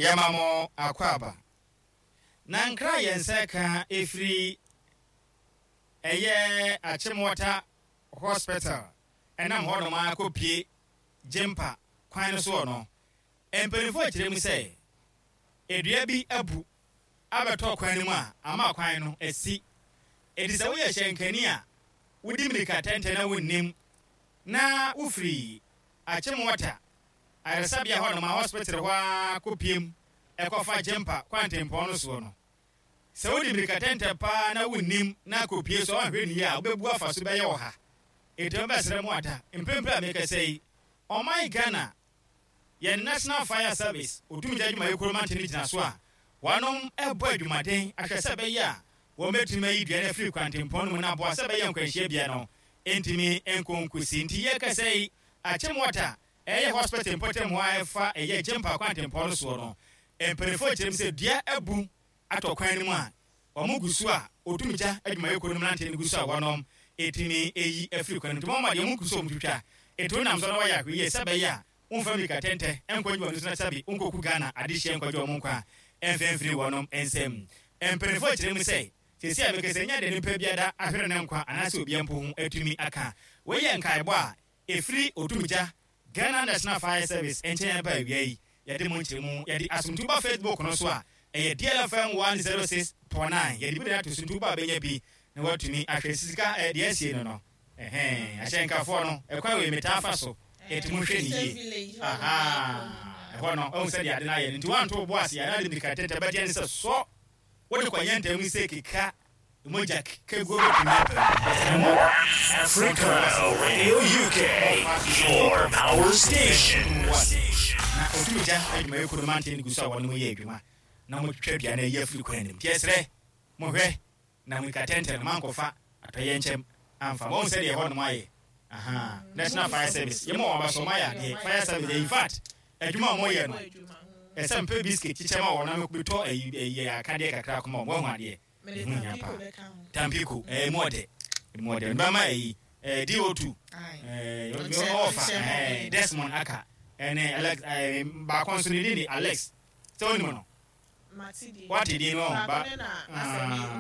Yɛma mo akwaaba. Na nkra a yɛn nsa ka ɛfiri ɛyɛ Achimota Hospital ɛnam hɔnom ara kɔpue Gyimpa kwan no soɔ no, mpanimfoɔ kyerɛ mu sɛ dua bi abu abɛtɔ kwan no mu a ama kwan no asi. Enti sɛ woyɛ hyɛnkani a wodi mmirika tɛntɛn na wonnim na wofiri Achimota ayaresabea hɔnom a hospital hɔ ara kɔpiem kɔfa Gyimpa kwantempɔn no soɔ no, sɛ wodi mmirika tɛntɛn paa na wonnim na akɔpue so a woanhwɛ no yie a wobɛbu afa so bɛyɛ ɔha. Enti mɛbɛsrɛ mo ada, mprempren a merekasa yi, ɔman Ghana, yɛn National Fire Service, Otumgya Adwumayɛkuo mantam no gyina so a wɔnom rebɔ adwumaden ahwɛ sɛ ɛbɛyɛ a wɔbɛtumi ayi dua no afiri kwantempɔn no mu na aboa sɛ ɛbɛyɛ nkwanhyia bea no ntumi nkɔ nkosi. Nti yɛrekasa yi, Achimota ɛyɛ hospital mpɔtam hɔ a ɛfa ɛyɛ Gyimpa kwantempɔn no soɔ no, mpanimfoɔ kyerɛ mu sɛ dua abu atɔ kwan no mu a wɔn gu so a otumgya adwumayɛkuo no mmeranteɛ no gu so a wɔnom ɛtumi ɛyi afiri kwan no mu. Nti wɔn deɛ wɔn gu so a wɔn twitwa ɛti wonam so na wɔayɛ ahwɛyie sɛ ɛbɛyɛ a womfa mmirika tɛntɛ nkɔ nnwuma no so na sɛbe wonkɔku Ghana adehyeɛ nkɔgye wɔn nkwa mfa mfiri wɔnom nsam. Mpanimfoɔ kyerɛ mu sɛ seesei a mekasa yi nyɛ deɛ nipa biara ahwere ne nkwa anaasɛ obia mpo ho atumi aka. Wei yɛ nkaebɔ a ɛfiri Otumgya Ghana National Fire Service nkyɛn aba awia yi. Yɛde mo nkyerɛmu yɛde asomdwoe ba Facebook no so a, ɛyɛ DLFM 106.9. Yɛde bi de ato so nti woba a bɛnya bi na woatumi ahwɛ. Sika eh, deɛ asie no no, ɛhɛn, ahyɛnkafoɔ no, ɛkwan wei metaa fa so, enti monhwɛ no yie. Ahaa, ɛhɔ no, wahu sɛdeɛ ade no ayɛ no, nti woanto wo bo ase a, na ade mmirika tɛntɛ bɛteɛ ne sɛ sɔ, wode kɔnyɛ ntɛm sɛ keka mogya keguo bɛtumi aba mu. Yɛsrɛ mo, Africa Radio UK, your power station. Na otumgya adwumayɛkuo no manteɛ no gu so a wɔne mo yɛ adwuma na motwitwa dua no ayi afiri kwan no mu. Nti yɛsrɛ mo hwɛ na mmirika tɛntɛn no moankɔfa atɔyɛnkyɛm amfa. Moahu sɛdeɛ ɛhɔnom ayɛ? Ahaa. National Fire Service, yɛma wɔn aba so, wɔayɛ adeɛ. Fire Service deɛ, in fact, adwuma a wɔyɛ no, ɛsɛ mepɛ biscuit kyekyɛ ma wɔn na mekɔtɔ ayi ayi akadeɛ kakra kɔma wɔn. Woahu adeɛ? Ɛho hia paa. Tampico, ɛɛ emu ɔdɛ. Emu ɔdɛ. Mebɛma ayi, ɛɛ DO2, ɛɛ ɔfa, ɛɛ Desmond Aka, ɛne Alex, ɛɛ baako nso ne din de Alex. Sɛ wonim no? Wate din no ɔho ba? Ah,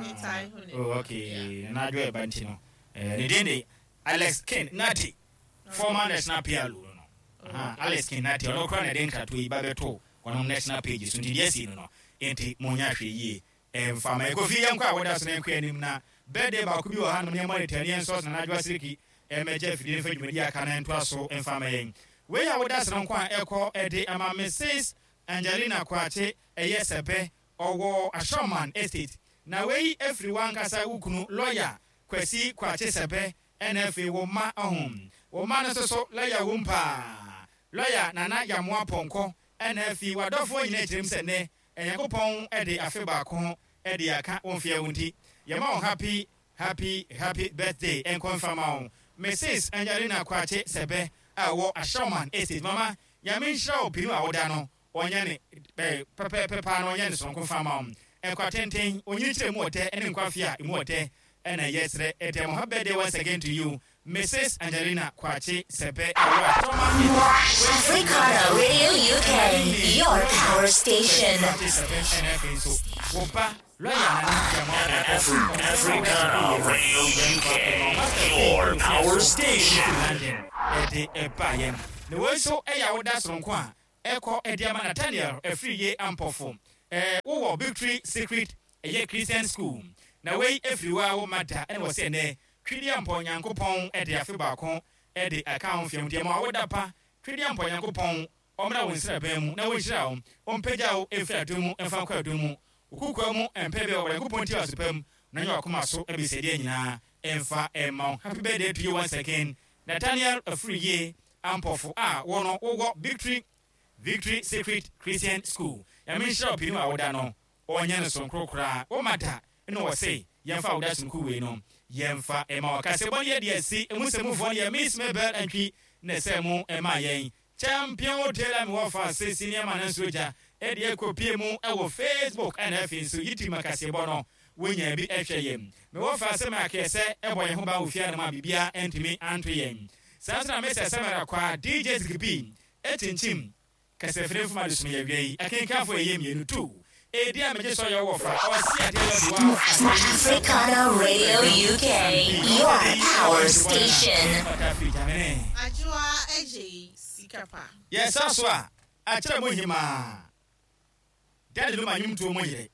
oh, okay. Nana Adwo ɛba nti no. Ɛɛ ne din de Alex King Nartey, former national PLO no no. Aha, Alex King Nartey, ɔno koraa na ɛde nkratoɔ yi ba bɛtoo wɔnom national page so nti deɛ asi no no, enti monyɛ ahwɛyie Ɛmfa ma yɛnkɔ fie yɛnkɔ a wɔda so na yɛnkɔ anim na birthday baako bi wɔ hanom na yɛmmɔ ne tani yɛnsɔ so Nana Adwoa Siriki mmɛgye afidie no mfa dwumadie a aka no ntoa so mfa ma yɛn. Wei a woda so no nko a ɛkɔ de ama Mrs Angelina Kwakye ɛyɛ Sɛpɛ ɔwɔ Ashorman Estate na wei firi w'ankasa wo kunu lawyer Kwasi Kwakye Sɛpɛ ɛna afei wo mma ɔho wo mma no nso so lawyer wom paa lawyer Nana Yamoah Pɔnkɔ ɛna afei w'adɔfoɔ nyinaa kyerɛm sɛ nnɛ Nyankopɔn de afe baako de aka wo mfeɛ ho nti yɛma wo happy happy happy birthday nkɔ mfa ma wo Mrs Angelina Kwakye Sɛbɛ a ɔwɔ Ashauman Estate Mama Nyame nhyira wo pinu a woda no ɔnyɛ ne pɛpɛɛpɛ paa na ɔnyɛ ne sononko mfa ma wo nkwa tenten onyinikyerɛ mu ɔdɛ ne nkwa fie a emu ɔdɛ na yɛsrɛ dɛ mo happy birthday once again to you Mrs Angelina Kwakye Sɛbɛ ɛwɔ Atɔma Africana Radio UK, your power station. Kwakye Sɛbɛ ɛna afei nso wo ba lɔya Nana Gyamah Ɔpɔnkɔ Africana Radio UK, your power station. London ɛde ɛba yɛn na wei nso ɛyɛ awoda soronko a ɛkɔ ɛde ama Nathaniel Afriyie Ampɔfo ɛɛ wowɔ Victory Secret ɛyɛ Christian School na wei ɛfiri wo a wo ma da ɛna wɔ sɛ ɛnɛ Twedeampɔ Nyankopɔn de afe baako de aka wo mfeɛ ho nti ɛma wo da pa Twedeampɔ Nyankopɔn ɔmmra wo nsraban mu na ɔnhyira wo ɔmpagya wo mfiri adom mu mfa nkɔ adom mu wo kokoa mu mpɛ bɛ wɔ Nyankopɔn nti aso pa mu na ɔnyɛ w'akoma so abisadeɛ nyinaa mfa mma wo Happy birthday to you once again Nathaniel Afriyie Ampɔfo a wo no wowɔ Victory Victory Secret Christian School Nyame nhyira wo pii ne w'awoda no ɔnyɛ no sonkoro koraa woma da Nna ɔse yɛmfa awoda sononko wei no yɛmfa mma wo. Kaseɛbɔ no yɛde asi emu sɛ mufoɔ no yɛ Miss Mabel Antwi na ɛsɛɛ mo maa yɛn. Champion Taylor me wɔfa se senior man nso agya de akɔpie mu wɔ Facebook ɛna afei nso YouTube ma kaseɛbɔ no wonyaa bi hwɛ yɛn. Me wɔfa se Mark sɛ ɛbɔ yɛn ho ban wɔ fie anom a biribiara antumi anto yɛn. Saa nso na Mister Samara Kwaa, DJ Ziggy B, kyinkyim. Kasafiri mfom adesoma yi awia yi, akenkanfo a ɛyɛ mmienu, tu Edi a megye sɛ ɔyɛ wo wɔfa, ɔse adeɛ yɛ ɔde wo afa Africana Radio UK, your power station. Ɔta firi Gyamene. Adwoa Adjei sika pa. Yɛsa so a, akyerɛ mo hemaa. Daddy Luma nnwomtoɔ mu yere,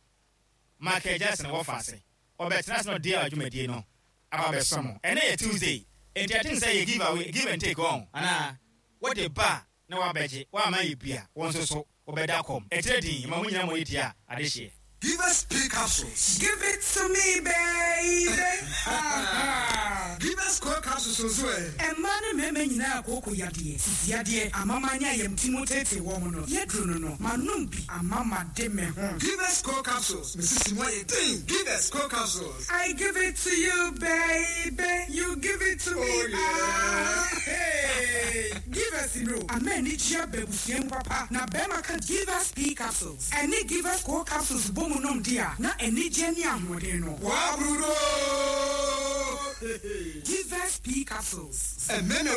Michael Jackson wɔfa ase. Ɔbɛtena ase na ɔde dwumadie no aba abɛso mo. Ɛnnɛ yɛ Tuesday, enti I think sɛ yɛ give away, give and take ɔn, anaa? Wode ba a na wabɛgye, woamma yɛ bi a, wo nso so wobɛda kɔm. Ɛkyerɛ din, ma mo nyinaa mo ani tua adehyeɛ. Give us P capsules. Give it to me baby ah. Give us Core capsules nso ɛ. Mmaa ne mmarima nyinaa kooko yadeɛ, sisi yadeɛ, amama ne ayamti mu teetee wɔn no, yɛduru no no, manom bi ama made me ho. Give us Core capsules, me sisi mu ayɛ den. Give us Core capsules. I give it to you baby, you give it to me Oh yeah. ah hey. Give us no, ama anigye aba abusua mu papa, na bɛrima ka Give us P capsules ɛne Give us Core capsules bɔ mu nom de a, na anigye ne ahoɔden no. Wabrudo. Give us P capsules. Mmarima.